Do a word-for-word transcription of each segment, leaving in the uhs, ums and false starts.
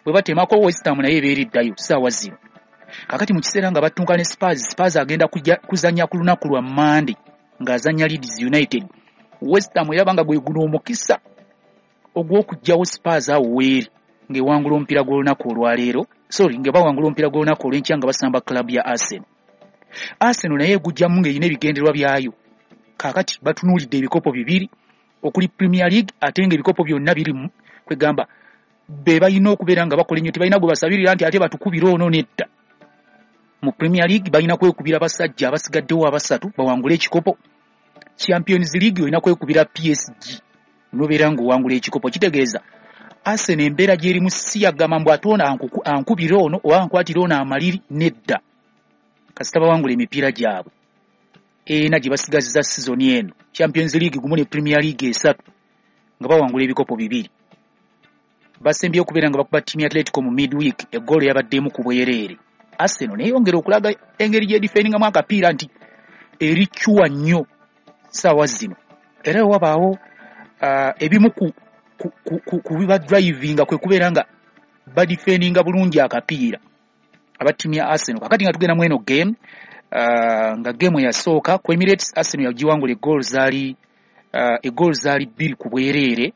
Bwe batemako West Ham, naye ebeera eddayo saawa zino. Kakati mu kiseera nga battunka ne Spurs, Spurs agenda kuzannya ku lunaku lwa Mande ng'azannya Leeds United. West Ham eraba nga gwe guno omukisa ogw'okuggyawo Spurs awo weeri ng'ewangula omupiira gw'olunaku olwaleero, sorry, nga bawangula omupiira gw'olunaku olw'enkya nga basamba club ya Arsenal. Arsenal naye egujjamu ng'erina ebigendererwa byayo. Kaakati batunuulidde ebikopo bibiri okuli Premier League, ate ng'ebikopo byonna biri kwegamba be balina okubeera nga bakola ennyo. Tebalina gwe basabirira nti ate batukubire ono, nedda. Mu Premier League balina kwekubira basajja abasigaddewo abasatu bawangule ekikopo. Champions League olina kwekubira P S G nobeera ng'owangula ekikopo. Kitegeeza Arsenal embeera gy'erimu si yagamba mbu ate ono ankubire ono oba ankwatire ono amaliri, nedda. Kasita bawangula emipiira gyabwe ena gye basigazza sizoni eno, Champions League gumu ne Premier League esatu, nga bawangula ebikopo bibiri. Basembye okubeera nga bakuba ttiimu ya Atletico mu midweek, eggoolo yabaddemu ku bwereere. Arsenal neyongera okulaga engeri gyedifendingamu akapiira nti ericuwa nnyo saawa zino. Era wewabaawo uh, ebimu ku, ku, ku, ku, ku bibadrivinga kwe kubeera nga badifendinga bulungi akapiira aba ttiimu ya Arsenal. Kakati nga tugenda mu eno game, uh, nga game eyasooka ku Emirates, Arsenal yagiwangula egoolo zaali uh, egoolo zaali bbiri ku bwereere,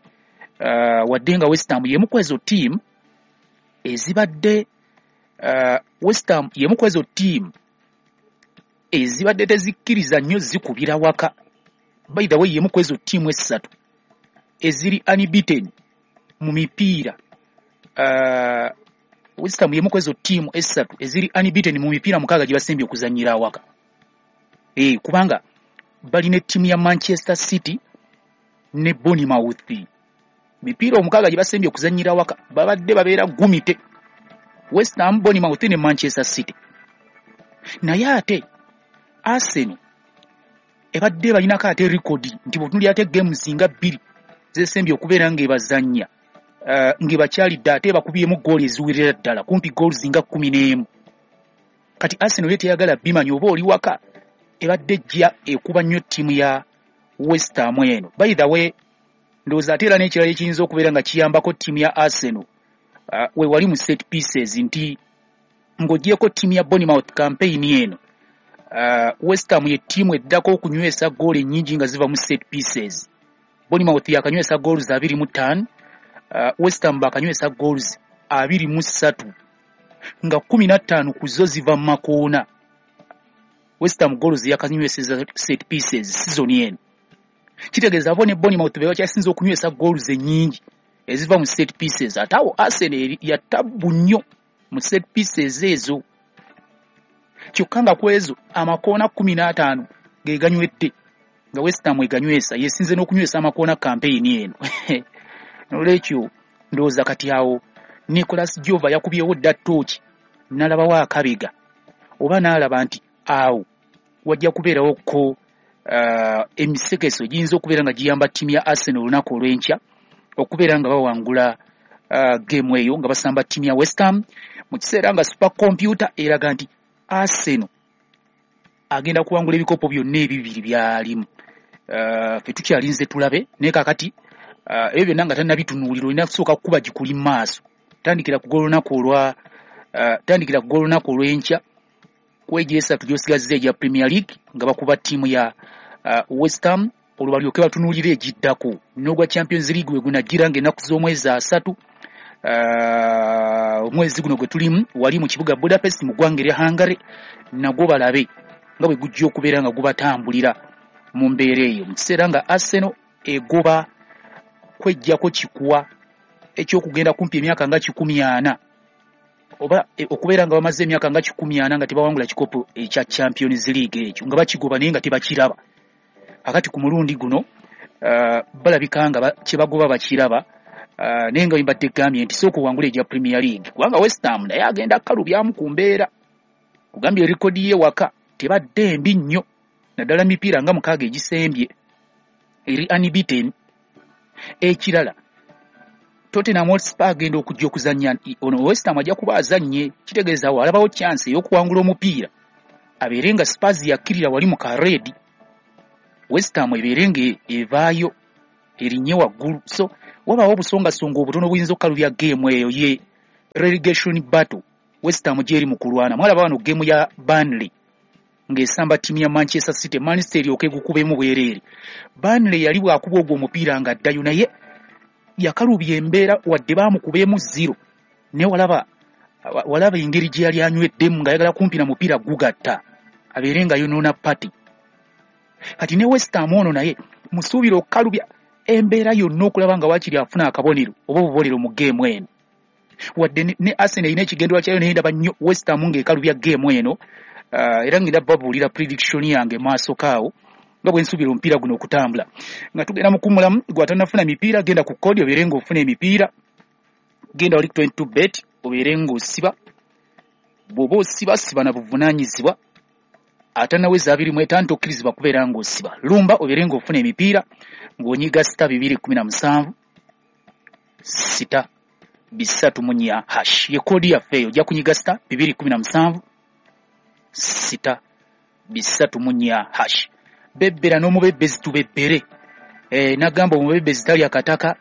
uh, wadde nga West Ham yemu ku ezo ttiimu ezibadde uh, West Ham yemu ku ezo ttiimu ezibadde tezikkiriza nnyo zikubira waka. By the way, yemu ku ezo ttiimu essatu eziri unbeaten mu mipiira. uh, West Ham yemu ku ezo ttiimu essatu eziri unbeaten mu mipiira mukaaga gye basembye okuzannyira awaka, e, kubanga balina ettiimu ya Manchester City ne Bournemouth. Mipiira omukaaga gye basembye okuzannyira awaka babadde babeera gumite West Ham, Bournemouth ne Manchester City. Naye ate Arsenal ebadde balinako ate rekodi nti bw'otunuulira ate games nga bbiri zesembye okubeera ng'ebazannya, uh, ng'ebakyalidde, ate bakubyemu gooli eziwerera ddala kumpi goals nga kkumi n'emu. Kati Arsenal ye teyagala bimanya oba oli waka, ebadde ejja ekuba nnyo ttiimu ya West Ham eno. By the way, ndowooza ate era n'ekirala ekiyinza okubeera nga kiyambako ttiimu ya Arsenal, uh, we wali mu set pieces, nti ng'oggyeko ttiimu ya Bournemouth, campaign eno uh, West Ham ye ttiimu eddako okunywesa goolo ennyingi nga ziva mu set pieces. Bournemouth yakanywesa goals abiri mu ttaano, uh, West Ham bakanywesa goals abiri mu ssatu, nga kkumi na ttaano ku zo ziva mu makoona. West Ham goals yakanyweseza set pieces season eno. Kitegeeza bo ne Bournemouth be bakyasinze okunywesa goals ennyingi eziva mu set pieces. Ate awo Arsenal ya tabbu nnyo mu set pieces ezo, kyokka nga ku ezo amakoona kkumi n'ataano ge ganywedde nga West Ham eganywesa, yesinze n'okunywesa amakoona campaign eno. Nolwekyo ndowooza kati awo Nicolas Jover yakubyewo dda ttooki n'alabawo akabega oba n'alaba nti awo wajja kubeerawo ko uh, emisekeso giyinza okubeera nga giyamba ttiimu ya Arsenal olunaku olw'enkya okubeera nga bawangula uh, game eyo nga basamba ttiimu ya West Ham, mu kiseera nga super computer eraga nti Arsenal agenda kuwangula ebikopo byonna ebibiri byalimu. uh, fe tukyalinze tulabe, naye kakati uh, ebyo byonna nga tannabitunuulira, olina kusooka kukuba gikuli mu maaso. Tandikira ku gw'olunaku olwa uh, tandikira ku gw'olunaku olw'enkya ku egyo esatu gy'osigazza egya Premier League nga bakuba ttiimu ya uh, West Ham, olwo balyoke batunuulire egiddako n'ogwa Champions League we gunagira ng'ennaku z'omwezi asatu uh, omwezi guno gwe tulimu, wali mu kibuga Budapest mu ggwanga erya Hungary, nagwo balabe nga bwe gujja okubeera nga gubatambulira mu mbeera eyo, mu kiseera nga Arsenal egoba kweggyako kikuwa ekyokugenda kumpi emyaka nga kikumi ana oba e, okubeera nga bamaze emyaka nga kikumi ana nga tebawangula kikopo ekya Champions League ekyo, nga bakigoba naye nga tebakiraba. Akati ku mulundi guno uh, balabika nga kyebagoba bakiraba, uh, naye nga mbadde gambye nti sooka owangula egya Premier League, kubanga West Ham naye agenda kalubyamu ku mbeera. Kugambye rekodi ye waka tebadde mbi nnyo, naddala mipiira nga mukaaga egisembye eri unbeaten. Ekirala, Tottenham Hotspur agenda okujja okuzannya ono West Ham ajja kuba azannye, kitegeeza awo alabawo chance ey'okuwangula omupiira, abeere nga Spurs yakkirira wali mu kareedi, West Ham ebeere nga evaayo erinnye waggulu. So wabaawo obusongasonga obutono obuyinza okukalubya game eyo ye. Relegation battle West Ham gyeri mu kulwana. Mwalaba wano game ya Burnley ng'esamba ttiimu ya Manchester City, Manchester eryoke egukubemu bwereere. Burnley yali bw'akuba ogwo omupiira ng'addayo, naye yakalubya embeera wadde baamukubeemu zero, naye walaba walaba engeri gye yali anyweddemu ng'ayagala kumpi na mupiira gugatta abeere nga yonoona party. Kati ne West Ham ono naye musuubira okukalubya embeera yonna okulaba nga waakiri afuna akabonero oba obubonero mu geemu eno. Wadde ne Arsenal erina ekigendererwa kyayo, naye ndaba nnyo West Ham ng'ekalubya geemu eno. uh, era ngenda babuulira prediction yange maaso kaawo nga bwe nsuubira omupiira guno okutambula. Nga tugenda mu kuwummulamu, gwe atannafuna mipiira genda ku code obeere ng'ofuna emipiira, genda wali twenty two bet obeere ng'osiba. Bw'oba osiba siba na buvunaanyizibwa, atannaweza abiri mu etaano tokkirizibwa kubeera ng'osiba. Lumba obeere ng'ofuna emipiira ng'onyiga star bibiri kumi na musanvu sita bisatu mu nnya hash, ye code yaffe eyo. Ojja kunyiga star bibiri kumi na musanvu sita bisatu mu nnya hash. Bebbera n'omubebbezi tubebbere. E, nagamba omubebbezi talya kataka.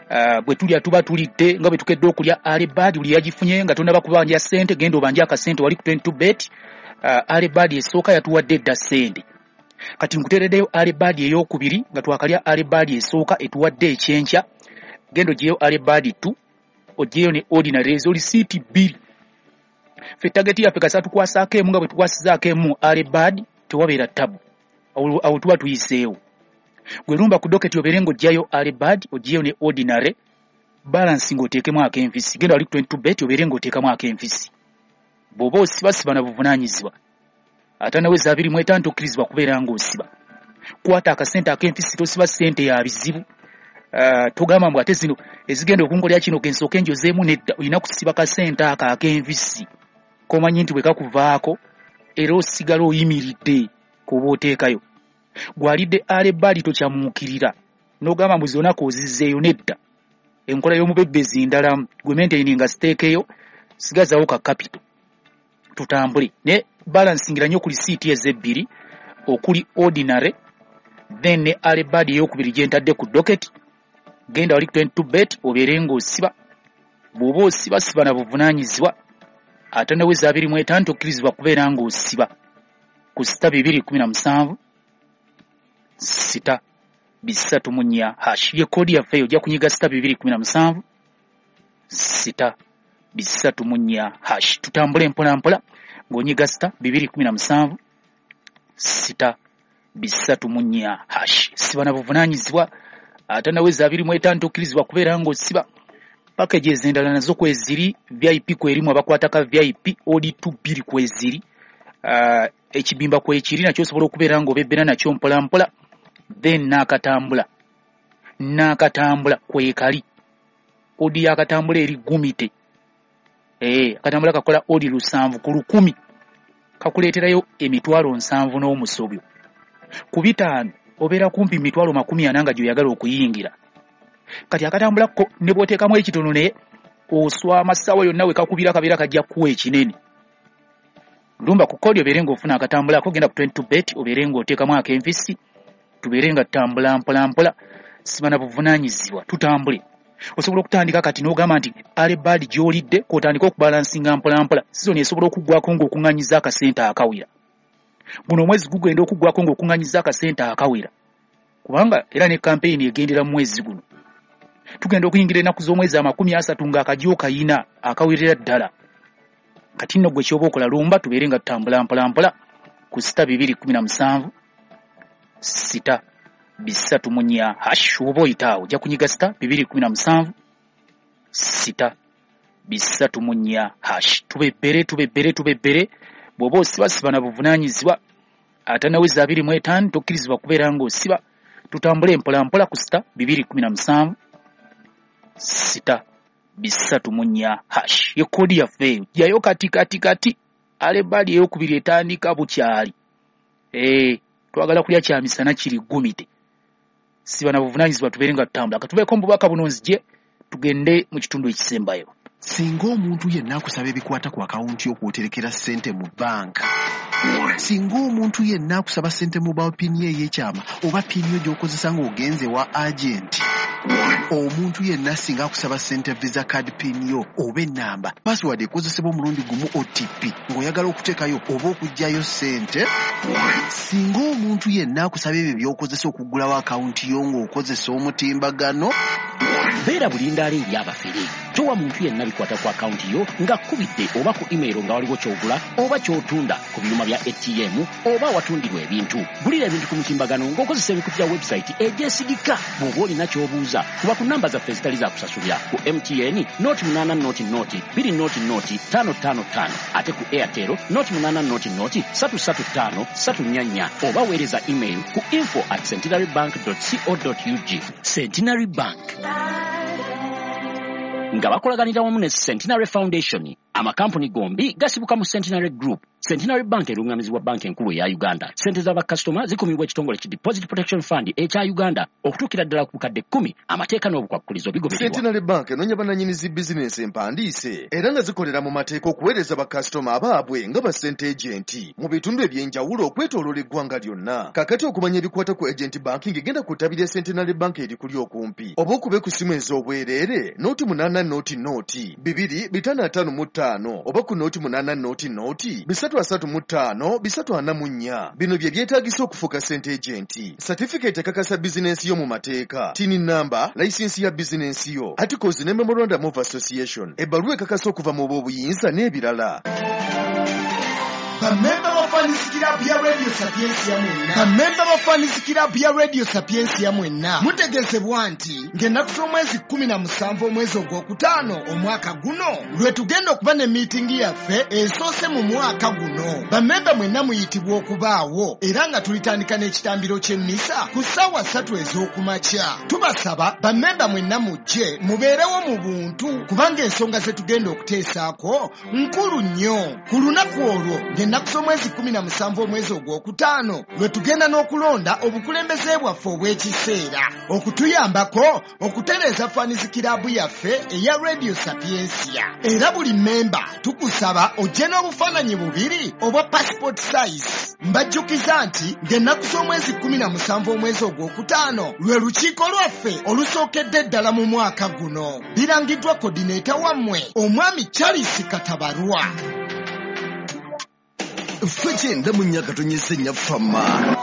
Uh, bwe tulya tuba tulidde nga bwe tukedde okulya. Early bird buli yagifunye nga tonnaba kubanja ssente, genda obanje akasente wali ku twenty two bet. uh, Early bird esooka yatuwadde edda ssente, kati nkuteereddeyo early bird ey'okubiri nga twakalya early bird esooka etuwadde ekyenkya. Genda ogyeyo early bird two, ogyeyo ne ordinary, ezo lisiiti bbiri. Ffe target yaffe kasa tukwasaako emu, nga bwe tukwasizaako emu early bird tewabeera tabu, awo tuba tuyiseewo. Gwe lumba ku docket obeere ng'oggyayo early bird, ogyeyo ne ordinary, balance ng'oteekemu ak'enfisi. Genda wali ku twenty two bet obeere ng'oteekamu ak'enfisi. Bw'oba osiba siba na buvunaanyizibwa, atannaweza abiri mu etaano tokkirizibwa kubeera ng'osiba. Kwata akasente ak'enfisi, tosiba ssente ya bizibu. Uh, togamba mbu ate zino ezigenda okunkolera kino kensooke njozeemu, nedda. Olina kusiba kasente ako ak'enfisi komanyi nti bwe kakuvaako era osigala oyimiridde k'oba oteekayo. Gwalidde early bird tokyamuukirira n'ogamba mbu zonna k'ozizzeeyo, nedda. Enkola y'omubebbezi ndalamu, gwe maintaininga stake sigazawo ka capital tutambule. Ne balansingira nnyo ku lisiiti ezebbiri okuli ordinary then ne early bird ey'okubiri gye ntadde ku docket. Genda wali ku twenty two bet obeere ng'osiba. Bw'oba osiba siba na buvunaanyizibwa, atannaweza abiri mu etaano tokkirizibwa kubeera ng'osiba ku sita bibiri kumi na musanvu sita bisatu mu nnya hash, ye code yaffe eyo. Ojja kunyiga star bibiri kumi na musanvu sita bisatu mu nnya hash. Tutambule mpola mpola ng'onyiga star bibiri kumi na musanvu sita bisatu mu nnya hash. Siba na buvunaanyizibwa, atannaweza abiri mu etaano tokkirizibwa kubeera ng'osiba. Packages endala nazo kweziri, V I P kwerimu abakwata ka V I P, odi two bbiri kweziri, uh, ekibimba kwekiri nakyo osobola okubeera ng'obebbera nakyo mpola mpola. Then n'akatambula n'akatambula kwekali odi y'akatambula eri gumite. Eh, akatambula kakola odi lusanvu ku lukumi, kakuleeterayo emitwalo nsanvu n'omusobyo. Ku bitaano obeera kumpi mitwalo makumi ana nga gy'oyagala okuyingira. Kati akatambula ko ne bw'oteekamu ekitono naye oswama ssaawa yonna we kakubira kabeera kajja kuwa ekinene. Lumba ku kodi obeere ng'ofuna akatambula ako, genda ku twenty two bet obeere ng'oteekamu ak'enfisi, tubeere nga tutambula mpola mpola, siba na buvunaanyizibwa, tutambule. Osobola okutandika kati n'ogamba nti early bird gy'olidde k'otandika okubalansinga mpola mpola. Sizoni esobola okuggwako ng'okuŋŋaanyiza akasente akawera. Guno omwezi gugenda okuggwako ng'okuŋŋaanyiza akasente akawera, kubanga era ne kampeyini egendera mu mwezi guno. Tugenda okuyingira ennaku z'omwezi amakumi asatu ng'akajja okayina akawerera ddala. Kati nno gwe ky'oba okola lumba tubeere nga tutambula mpola mpola ku sita bibiri kumi na musanvu sita bisatu mu nnya hash. Oba oyita awo ojja kunyiga sita bibiri kumi na musanvu sita bisatu mu nnya hash. Tubebbere tubebbere tubebbere. Bw'oba osiba siba na buvunaanyizibwa, atannaweza abiri mu etaano tokkirizibwa kubeera ng'osiba. Tutambule mpola mpola ku sita bibiri kumi na musanvu sita bisatu mu nnya hash, ye code yaffe eyo. Jjayo kati kati kati early bird ey'okubiri etandika bukyali. Eh, twagala kulya kya misana kiri gumite. Siba na buvunaanyizibwa, tubeere nga tutambula. Katubeeko mu bubaka buno nzije tugende mu kitundu ekisembayo. Singa omuntu yenna akusaba ebikwata ku akawunti y'okwoterekera ssente mu banka, singa omuntu yenna akusaba ssente mobile pin ye ey'ekyama oba pin yo gy'okozesa ng'ogenze wa agenti, Omuntu yenna singa akusaba ssente, Visa card PIN yo oba ennamba, password ekozesebwa omulundi gumu, O T P, ng'oyagala okuteekayo oba okuggyayo ssente. Singa omuntu yenna akusaba ebyo by'okozesa okuggulawo akawunti yo ng'okozesa omutimbagano. Beera bulindaala eri abafere. Towa muntu yenna bikwata ku akawunti yo ng'akkubidde oba ku email nga waliwo ky'ogula oba ky'otunda ku byuma bya A T M oba awatundirwa ebintu. Gulira ebintu ku mutimbagano ng'okozesa emikutu gya website egyesigika. Bw'oba olina ky'obuuza, kuba ku namba zaffe ezitali za kusasulira: ku M T N nought munaana nought nought bbiri nought nought ttaano ttaano ttaano, ate ku Airtel nought munaana nought nought ssatu ssatu ttaano ssatu nnya nnya, oba weereza email ku info at centenary bank co ug. Centenary Bank nga bakolaganira wamu ne Centenary Foundation. Amakampuni gombi gasibuka mu Centenary Group. Centenary Bank erungamizibwa Banka Enkulu eya Uganda. Sente z'abakasitoma zikumibwa ekitongole ki Deposit Protection Fund ekya Uganda okutuukira ddala ku bukadde kkumi. Amateeka n'obukwakkulizo bigobererwa. Centenary Bank enoonya bannannyini zi bizinensi empandiise era nga zikolera mu mateeka okuweereza bakasitoma abaabwe nga ba sente agent mu bitundu eby'enjawulo okwetooloola eggwanga lyonna. Kakati okumanya ebikwata ku agent banking, genda ku ttabi lya Centenary Bank erikuli okumpi oba okube ku ssimu ez'obwereere nought munaana nought nought bibiri bitaano ataano mu ttaano oba ku nought munaana nought nought bisatu asatu mu ttaano bisatu ana mu nnya. Bino bye byetaagisa okufuuka sente agent: certificate ekakasa bizinensi yo mu mateeka, TIN number, layisinsi ya bizinensi yo, articles ne memorandum of association, ebbaluwa ekakasa okuva mu b'obuyinza n'ebirala. Bamemba ba Fans Club ya Radio Sapiensia mwenna, bamemba ba Fans Club ya Radio Sapiensia mwenna, mutegeezebwa nti ng'ennaku z'omwezi kkumi na musanvu omwezi ogwokutaano omwaka guno lwe tugenda okuba ne miitingi yaffe esoose mu mwaka guno. Bamemba mwenna muyitibwa okubaawo, era nga tulitandika n'ekitambiro ky'emmisa ku ssaawa ssatu ez'okumakya. Tubasaba bamemba mwenna mujje mubeerewo mu buntu, kubanga ensonga ze tugenda okuteesaako nkulu nnyo. Ku lunaku olwo ng'ennaku z'omwezi kkumi na musanvu omwezi ogwokutaano lwe tugenda n'okulonda obukulembeze bwaffe obw'ekiseera okutuyambako okutereeza Fans Club yaffe eya Radio Sapiensia. Era buli memba tukusaba ojje n'obufaananyi bubiri obwa passport size. Mbajjukiza nti ng'ennaku z'omwezi kkumi na musanvu omwezi ogwokutaano lwe lukiiko lwaffe olusookedde ddala mu mwaka guno. Birangiddwa coordinator wammwe, omwami Charles Katabarwa. Ffe kyenda mu nnya katonyesa ennya fama.